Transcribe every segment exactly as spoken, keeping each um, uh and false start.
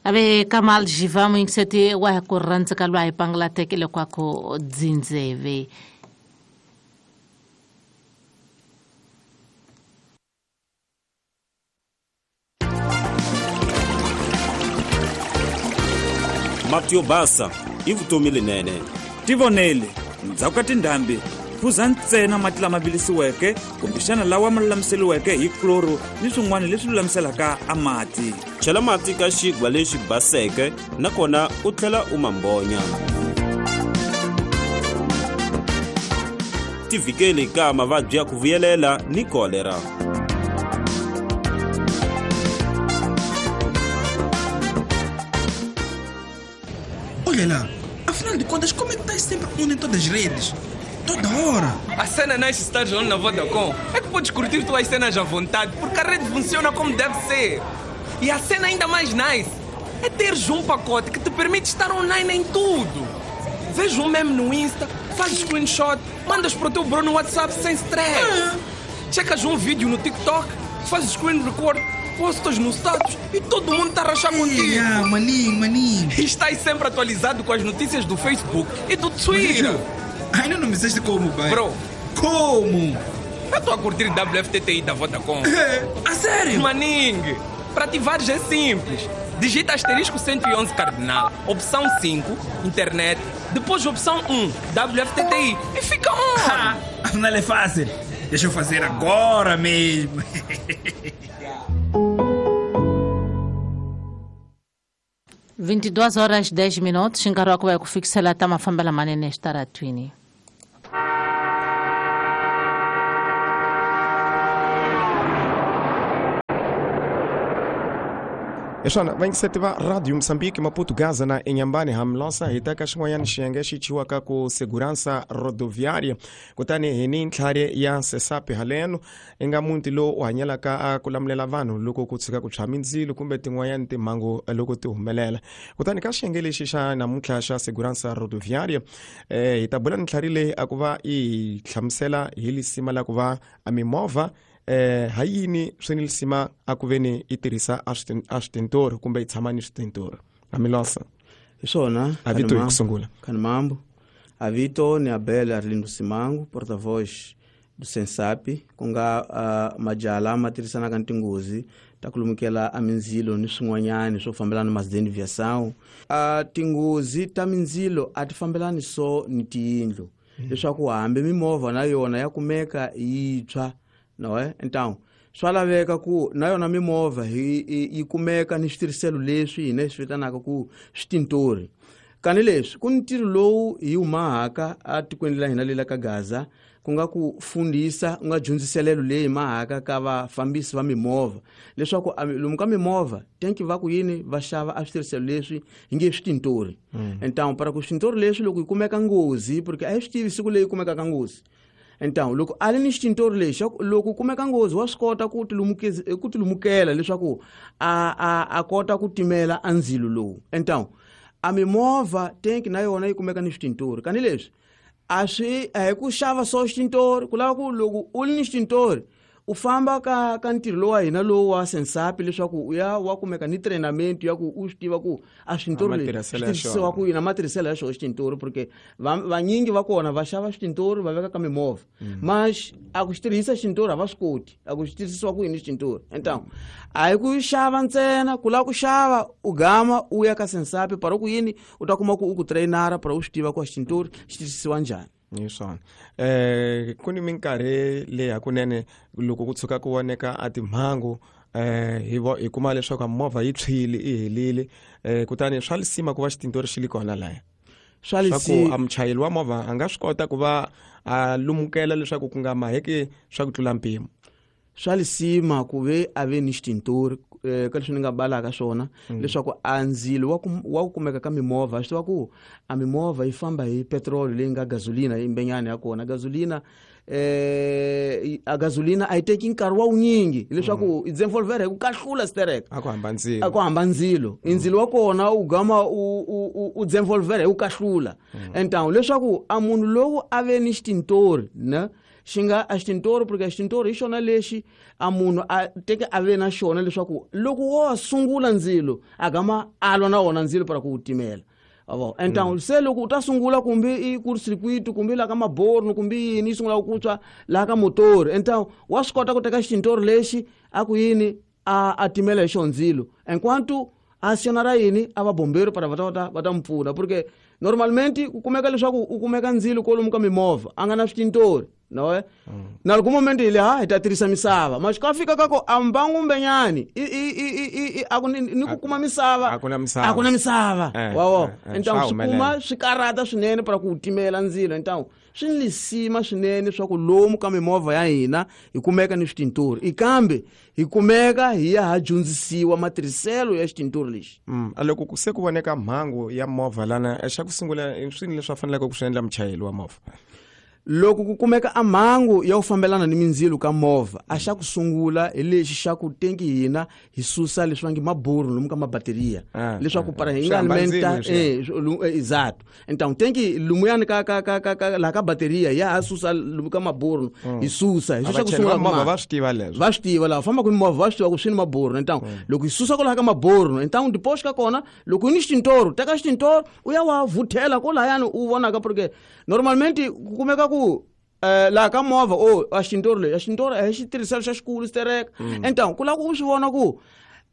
Ave Kamal Jiva muyingiseti wa ku rhandza lwa hi pangala tekele kwako dzindzeve. Mati yo basa i vutomi lenene. Tivonele, ndzhaku ka tindhambi phuza ntsena mati lama vilisiweke kumbexana lawa ma lulamiseriweke hi chloro ni swin'wana leswi lulamiselaka a mati. Chela mati ka xigwa lexi baseke nakona u tlhela u mambonya. Tivikele ka mavabyi ya ku vuyelela ni kolera. Olha lá, afinal de contas, como é que estás sempre on em todas as redes? Toda hora! A cena nice estar on na Vodacom é que podes curtir tuas cenas à vontade, porque a rede funciona como deve ser. E a cena ainda mais nice é teres um pacote que te permite estar online em tudo. Vês um meme no Insta, fazes screenshot, mandas para o teu bro no WhatsApp sem stress. Ah. Checas um vídeo no TikTok, fazes screen record, postas no status e todo mundo está a rachar contigo. Ah, maninho, maninho. E estás sempre atualizado com as notícias do Facebook e do Twitter. Ainda não me disseste como, pai. Bro. Como? Eu estou a curtir W F T T I da Vodacom. A sério? Maningue, para ativares é simples. Digita asterisco cento e onze cardinal, opção cinco, internet, depois opção um, W F T T I e fica on. Afinal é fácil. Deixa eu fazer agora mesmo. vinte e duas horas e dez minutos, nkarhi wa ku va hi ku fikisela ta mafambela manene exitaratwini. Eswana vayingiseti va Radio Mozambique Maputo Gaza na Inhambane hamlosa hi ta ka xin'wanyana xiyenge xi chiwaka ku Segurança Rodoviária kutani hi ni ntlhari ya Sesapi haleno i nga muti lowu u hanyelaka a ku lamulela vanhu loko ku tshika ku tshwa mindzilo kumbe tin'wanyana timhangu loko ti humelela. Kutani ka xiyenge lexi xa namuntlha xa Segurança Rodoviária eh, hi ta bula ni ntlhari leyi a ku va i hlamusela hi lisima la ku va a mimovha eh ha yini swi ni lisima a ku veni i tirhisa a switintori kumbe i tshama ni switintori. Amilosa hi swona a vito hi ku sungula khani mambo a vito ni Abel Arlindo Simango, porta-voz do Sensapi, ku nga uh, majaha ma tirhisanaka ni tinghozi ta ku lumukela a mindzilo ni swin'wanyani swo fambelana na masideni viação. Uh, tinghozi ta mindzilo a ti fambelani so ni tiyindlu leswaku hambi mimovha na yona ya kumeka yi tshwa. No, eh? Então, swa laveka ku na yona mimovha yi yi kumeka ni switirhiselo leswi hina hi swi vitanaka ku switintori. Kani leswi ku ni ntirho lowu hi wu mahaka atikweni la hina lela ka Gaza ku nga ku fundisa ku nga dyondziselelo leyi mahaka ka vafambisi va mimovha leswaku lomu ka mimovha tenki va ku yini va xava a switirhiselo leswi hi nge switintori. Então, para ku switintori leswi loko yi kumeka nghozi porque a hi swi tivi siku leyi kumekaka nghozi. Então, loko a ri ni xitintori lexi loko kumeka nghozi wa swi kota ku tilumukeza ku tilumukela leswaku a a a kota ku timela a ndzilo lowu. Então, a mimovha tenki na yona yi kumeka ni switintori. Kani leswi a swi a hi ku xava so xitintori ku lava ku loko u ri ni xitintori u famba ka ka ntirho lowu wa hina lowu wa Sensapi leswaku u ya wa kumeka ni treinamento ya ku u swi tiva ku a switintori leswi tirhisiwa ku yini matirhiselo ya xona xitintori porque vanyingi va kona va xava switintori va veka ka mimovha mas a ku xi tirhisa xitintori a va swi koti a ku xi tirhisiwa ku yini xitintori. Então a hi ku xava ntsena ku lava ku xava u gama u ya ka Sensapi para ku yini u ta kuma ku u ku trainara para u swi tiva ku a xitintori xi tirhisiwa njhani. Hi swona eh ku ni minkarhi leyi hakunene loko ku tshuka ku voneka a timhangu eh hi hi kuma leswaku movha yi tshwile i helile eh kutani swa lisima ku va xitintori xi li kona laya swa leswaku a muchayeri wa movha a nga swi kota ku va a lumukela leswaku ku nga maheki swa ku tlula mpimo. Swa lisima ku ve a ve ni xitintori ka leswi ni nga balaka swona leswaku a ndzilo wa wa ku kumeka ka mimovha swi tiva ku a mimovha yi famba hi petrol leyi nga gasolina yimbenyana ya kona gasolina eh a gasolina a yi teki nkarhi wa wunyingi leswaku i desenvolver hi ku kahlula sterek a ku hamba ndzilo a ku hamba ndzilo ndzilo wa kona u gama u u u desenvolver hi ku kahlula. Então leswaku a munhu lowu a ve ni xitintori na xi nga a xitintoro porque xitintoro hi xona lexi a munhu a teke a ve na xona leswaku loko wo sungula ndzilo a gama a lwa na wona ndzilo para ku wu timela. Avo então se loko u ta sungula kumbe i curto-circuito kumbe la ka maborno kumbe yini yi sungula ku tshwa la ka motor, então wa swi kota ku teka xitintoro lexi a ku yini a a timela hi xona ndzilo enquanto a acionar yini a va bombeiro para va ta va ta mpfuna porque normalmente ku kumeka leswaku u kumeka ndzilo kolomu ka mimovha a nga na switintori no eh na loko momento ile ha hi ta tirhisa misava mas ka fika ka ko ambangu mbenyani i i i i a ku ni ku kuma misava a ku na misava a ku na misava wa então swi kuma swi karata swinene para ku timela ndzilo. Então swi ni lisima swinene swa ku lomu ka mimovha ya hina hi kumeka ni switintori ikambe hi kumeka hi ya ha dyondzisiwa matirhiselo ya xitintori lexi. Mm loko ku se ku voneka mhangu ya movha lana xa ku sungula swini leswi faneleke ku swi endla muchayeri wa movha? Loko ku kumeka a mhangu ya ku fambelana ni mindzilo ka movha a xa ku sungula hi lexi xa ku tenki hina hi susa leswi va nge maburu lomu ka mabateriya leswaku para hi nga alimenta eh exato. Então tenki lumuyani ka ka ka ka la ka bateriya ya ha susa lomu ka maburu hi susa hi xa ku sungula movha va swi tiva leswo va swi tiva la famba ku movha va swi tiva ku swi ni maburu. Então loko hi susa ko la ka maburu então depois ka kona loko ni xitintoro teka xitintoro u ya wa vuthela ko layani u vonaka porque normalmente ku kumeka ku eh la ka movha o a xintoro le a xintoro a xi tirhisela xa xikulu stereka. Então ku la ku swi vona ku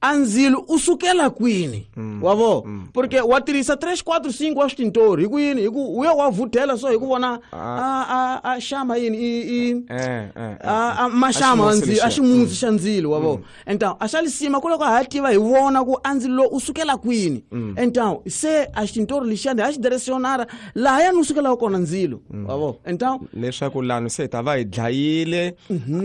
a ndzilo u sukela kwini wa vo porque wa tirhisa three four five wa xintoro hi ku yini hi ku u ya wa vuthela so hi ku vona a a a xama yini i i a maxama ndzilo a ximusi xa ndzilo wa vo. Então a xa lisima ku loko ha tiva hi vona ku a ndzilo u sukela kwini. Então se a xintoro lexiyani a xi direcionara laha ya ni sukela kona ndzilo wa vo. Então leswaku lano se ta va hi dlayile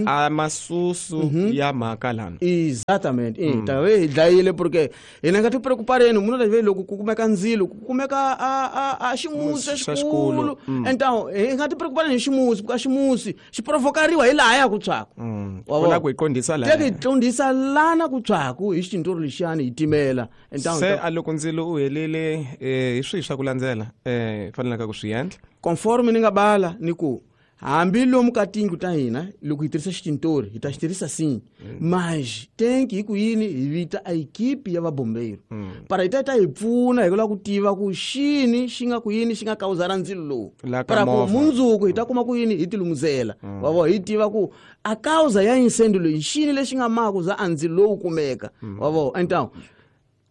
a masusu ya mhaka lano exatamente e hi dlayile porque hina nga ti preocupareni munhu la loko ku kumeka ndzilo ku kumeka a a a ximusi xa xikulu. Então hi nga ti preocupareni hi ximusi ka ximusi xi provokariwa hi laha ya ku tshwaku wa la ku hi qondisa laha hi qondisa lana ku tshwaku hi xitintoro lexiyani hi timela. Então se a loko ndzilo u helile hi swihi swa ku landzela eh fanelaka ku swi endla conforme ni nga bala ni ku hambi lomu ka tindlu ta hina loko hi tirhisa xitintori hi ta xi tirhisa sim mas tenki hi ku yini hi vita a equipe ya vabombeiro para hi ta ta hi pfuna hi ku lava ku tiva ku xini xi nga ku yini xi nga kawuzara ndzilo lowu para ku mundzuku hi ta kuma ku yini hi tilumuzela wa vo hi tiva ku a causa ya incêndio leyi xini lexi nga maka ku za a ndzilo lowu kumeka wa vo. Então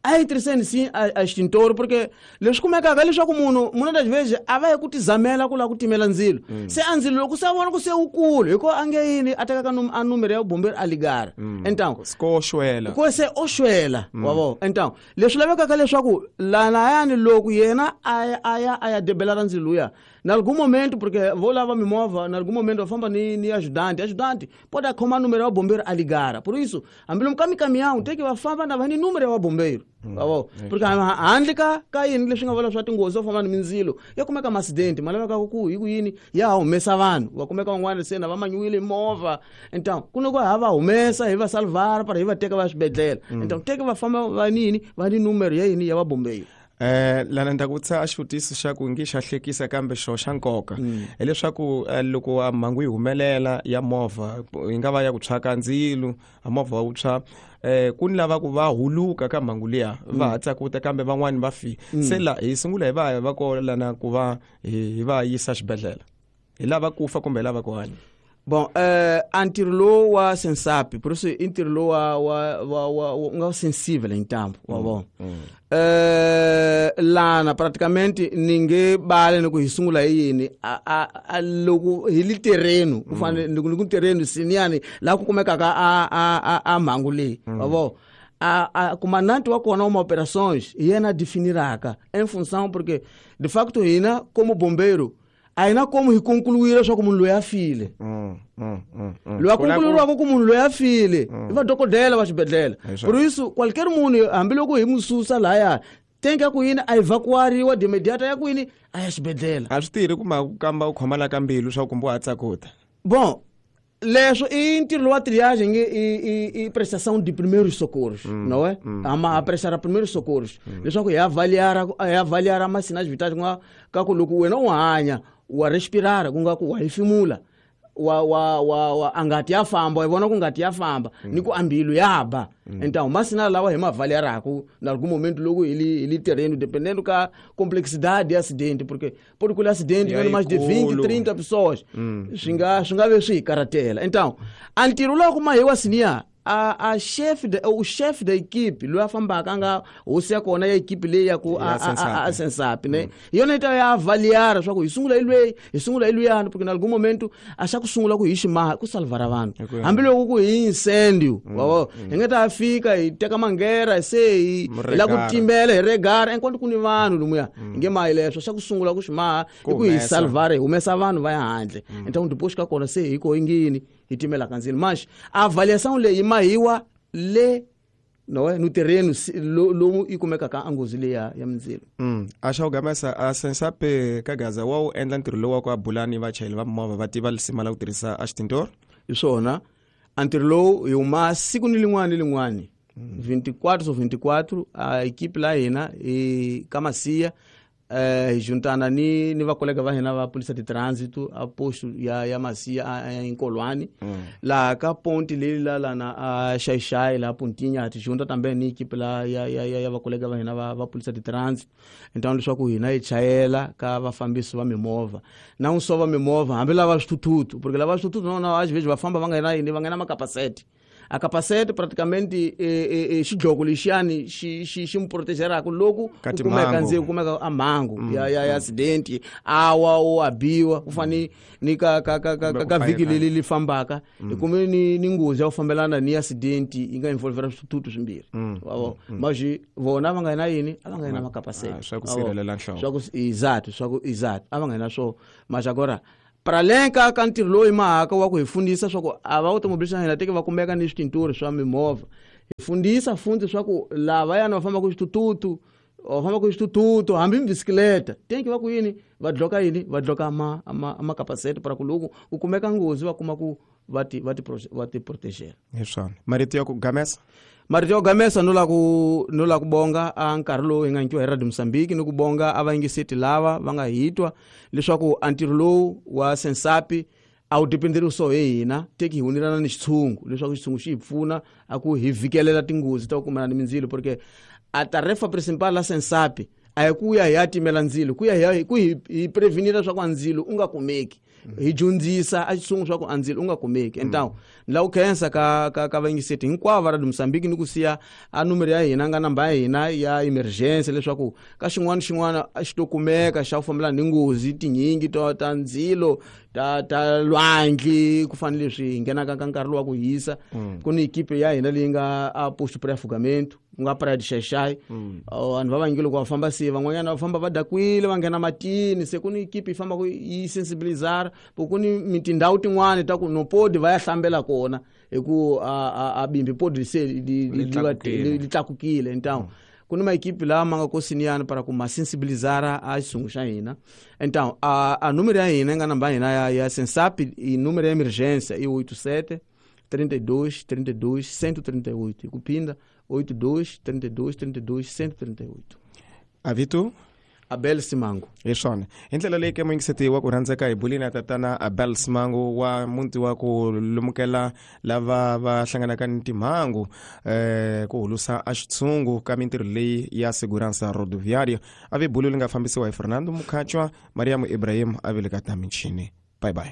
a hi tirhiseni sim a xitintoro porque leswi kumekaka leswaku munhu munhu das vezes a va hi ku tizamela ku lava ku timela ndzilo se a ndzilo loko se a vona ku se wukulu hi ko a nge yini a tekaka a numero ya bombero a ligara. Então ko xwela ko se o xwela wa vo. Então leswi lavekaka leswaku lanayani loko yena a ya a ya a ya debela ra ndzilo luya na algum momento porque vou lava mimovha na algum momento va famba ni ni ajudante ajudante pode a khoma número ya bombeiro a ligara por isso hambi lomu ka micaminhão tem que va famba na va ni número ya bombeiro wa porque handle ka ka yini leswi nga vula swa tinghozi swo famba ni mindzilo ya kumeka accident ma laveka ku hi ku yini ya humesa vanhu va kumeka van'wana se na va manyiwile movha. Então ku loko ha va humesa hi va salvar para hi va teka va swibedhlele. Então teka va famba va nini va ni número ya yini ya va bombeiro. Eh lana ndza ku tsa a xivutiso xa ku ngi xa hlekisa kambe xo xa nkoka hileswaku loko a mhangu yi humelela ya movha yi nga va ya ku tshwa ka ndzilo a movha wu tshwa eh ku ni lava ku va huluka ka mhangu liya va hatla ku ta kambe van'wani va fi se la hi sungula hi va va ko lana ku va hi va yisa xibedhlele hi lava ku fa kumbe hi lava ku hanya. Bon eh a ntirho lowu wa sensapi por isso i ntirho lowu wa wa wa wa nga sensível intambo wa vona eh lana praticamente ni nge bale ni ku hi sungula hi yini a a loko hi li terreno ku fanele ni ku terreno siniyani la ku kumekaka a a a mhangu leyi wa vona a a comandante wa kona uma operações yena definiraka em função porque de facto hina como bombeiro a hina como hi concluir leswaku munhu loyi a file loyi a concluiriwaka ku munhu loyi a file i va dokodela va xibedhlele. Por isso qualquer munhu hambiloko hi mu susa lahaya tenka ku yini a evacuariwa de imediato ya ku yini a ya xibedhlele. A swi tirhi kuma ku kamba u khoma la ka mbilu swa kumbe u hatla ku ta bon leswo i ntirho wa triagem i i i prestação de primeiros socorros, não é? A prestar primeiros socorros leswaku hi avaliar hi avaliar ma sinais vitais ku nga ka ku loko wena u hanya wa respirar ku nga ku wa hefemula wa wa wa, wa angati ya famba hi vona ku ngati ya famba mm. ni ku ambilu ya ba mm. Então masinal lawa hi mavaliaraku na algum momento logo ele ele terreno dependendo ka complexidade de acidente porque pode colher acidente yeah, mais de vinte, trinta pessoas mm. Swi nga swi nga ve swi hi karatela. Então a ntirho lowu kuma hi wa sinia a a chef de o chef da equipe loyi a fambaka a nga hosi ya kona ya equipe leyi ya ku a a Sensap ne hi yona yi ta ya avaliar swa ku hi sungula hi lweyi hi sungula hi luyani porque na algum momento a xa ku sungula ku hi ximaha ku salvara vanhu hambiloko ku hi incendio wa hi nga ta fika hi teka mangera se hi la ku timbela hi regara enquanto ku ni vanhu lomuya hi nge mahi leswo xa ku sungula ku ximaha i ku hi salvara hi humesa vanhu va ya handle então depois ka kona se hi ko yingini hi timelaka ndzilo mas a avaliação leyi mahiwa le no no terreno lomu yi kumekaka a nghozi leya ya mindzilo. Mm. A xa ku gamesa a Sensap ka Gaza wa wu endla ntirho lowu wa ku abula ni vachayeri va mimovha va tiva lisima la ku tirhisa a xitindoro hi swona a ntirho lowu hi huma siku ni lin'wana ni lin'wani vinte e quatro ou vinte e quatro a equipe la hina hi ka Masiya eh hi juntana ni ni vakolega va hina va polícia de trânsito a posto ya ya Masia a Nkolwani mm. la ka ponte leyi la lana a Xaixai la Pontinha ti junta também ni equipe la ya ya ya vakolega va hina va va polícia de trânsito. Então leswaku hina hi chayela ka vafambisi va mimovha na un só va mimovha hambi lava swithuthuthu porque lava swithuthuthu no no às vezes va famba va nga na yini va nga na makapasete a capacete praticamente e e xidloko lexiyani xi xi xi muprotegeraka loko ku kumeka ndzi kumeka a mhangu mm, ya ya ya accident awa o abiwa ku fani ni ka ka ka ka, ka vhiki leli li fambaka hi kume ni ni nghozi ya ku fambelana ni accident yi nga involvera swithuthuthu swimbirhi wavo mas vona va nga na yini a va nga na makapasete swa ku sirhelela nhloko swa ku exato swa ku exato a va nga na swo mas agora para além ka ka ntirho lowu hi mahaka wa ku hi fundisa swa ku a va automobilista hina teke va kumeka ni switinturi swa mimovha hi fundisa fundi swa ku lavayani va fambaka hi switututu va fambaka hi switututu hambi bisikleta tenki va ku yini va dloka yini va dloka ma ma makapasete para ku loko ku kumeka nghozi va kuma ku va ti va ti va ti protegela. Hi swona marito ya ku gamesa marito yo gamesa no la ku no la ku bonga a nkarhi lowu hi nga nyikiwa hi Radio Mozambique ni ku bonga a vayingiseti lava va nga hitwa leswaku a ntirho lowu wa Sensap a wu dependeri so hi hina teki hi hunelana ni xitshungu leswaku xitshungu xi hi pfuna a ku hi vhikelela tinghozi ta ku kumana ni mindzilo porque a tarefa principal la Sensap a hi ku ya hi ya timela ndzilo ku ya hi ku hi hi prevenira leswaku a ndzilo u nga kumeki hi dyondzisa a xitshungu swa ku a ndzilo u nga kumeki. Então ni lava ku khensa ka ka ka vayingiseti hinkwavo va Radio Mozambique ni ku siya a numero ya hina nga namba ya hina ya emergency leswaku ka xin'wana xin'wana a xi to kumeka xa ku fambelana ni nghozi tinyingi to ta ndzilo ta ta lwandle ku fana leswi hi nghenaka ka nkarhi lowu wa ku hisa ku ni equipe ya hina leyi nga a posto pré-afogamento ku nga Praia de Xaixai vanhu va vanyingi loko va famba se van'wanyana va famba va dakwile va nghena matini se ku ni equipe yi fambaka yi sensibilizara po ku ni tindhawu tin'wani ta ku no podi va ya hlambela kona hi ku a a bimbi podi se li li tlakukile. Então ku ni maequipe lawa ma nga kosiniyani para ku ma sensibilizara a xitshungu xa hina. Então a a número ya hina yi nga namba ya hina ya ya Sensap i número ya emergência i oito sete trinta e dois trinta e dois cento e trinta e oito hi ku phinda oito dois trinta e dois trinta e dois cento e trinta e oito. Avito Abel Simango hi swona hi ndlela leyi ke muyingiseti wa ku rhandzeka hi bulini ya tatana Abel Simango wa muti wa ku lumukela lava va hlanganaka ni timhangu eh ku hulusa a xitshungu ka mintirho leyi ya segurança rodoviária a ve bulu li nga fambisiwa hi Fernando Mukhachwa Mariam Ibrahim a vele ka ta michini. Bye bye.